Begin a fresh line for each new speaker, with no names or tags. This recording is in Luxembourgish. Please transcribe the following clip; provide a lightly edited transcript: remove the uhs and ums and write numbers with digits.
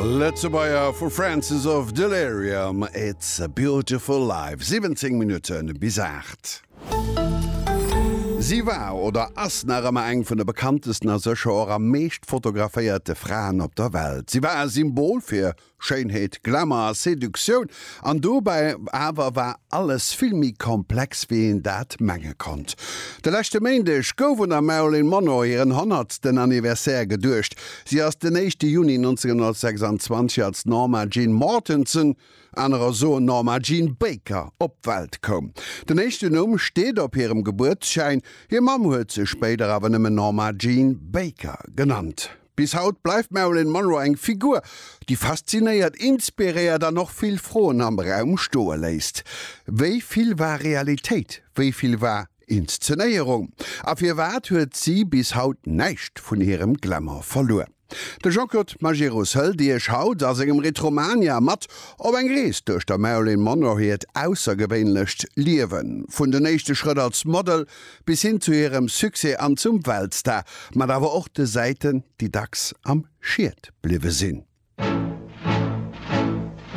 Lëtzebuerger vu Francis of Delirium, It's a Beautiful Life, 17 Minutte bis 8. Si war oder ass nach ëmmer eng vun de bekanntesten a sécher och am meescht fotograféierte Fraen op der Welt. Si war e Symbol fir Schéinheet, Glamour a Seduktioun, an dobäi awer war alles vill méi komplex wéi een dat menge konnt. De leschte Méindeg gouf un der Marilyn Monroe hiren honnertsten Anniversaire geduecht. Si ass den éischte Juni 1926 als Norma Jean Mortenson, anerer soen Norma Jean Baker, op d'Welt koum. Den éischten Numm steet op hirem Gebuertsschäin, hir Mamm huet se spéider awer nëmmen Norma Jean Baker genannt. Bis haut bleift d'Marilyn Monroe eng Figur, déi faszinéiert, inspiréiert an och vill Froen am Raum stoe léisst. Wéi vill war Realitéit, wéi vill war Inszenéierung? A firwat huet si bis haut näischt vun hirem Glamour verluer? De Jean-Claude Majerus hëlt Iech haut a sengem Retromania mat op eng Rees duerch der Marilyn Monroe hiert aussergewéinlecht Liewen, vun den éischte Schrëtt als Model Bis hin zu hirem Succès an zum Weltstar, mat awer och de Säiten, déi dacks am Schiet bliwwe sinn.